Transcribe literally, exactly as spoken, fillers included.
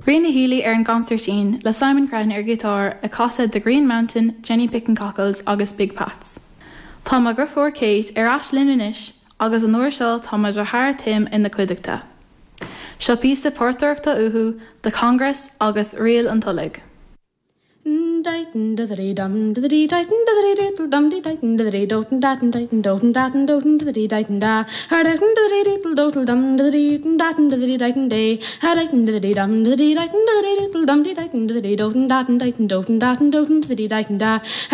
Ríona Healy ar an gconsairtín le Simon Crean ar giotár ag casadh The Green Mountain, Jenny Picking Cockles agus Big Pats. Tá mo dheirfiúr Kate ar ais linn anois agus an uair seo tá mo dheartháir Tim ina cuideachta. Seo píosa portaireachta uathu The Congress agus Ríl an Tulaigh. Dum dum dum dum dum dum dum dum dum dum da dum dum dum dum da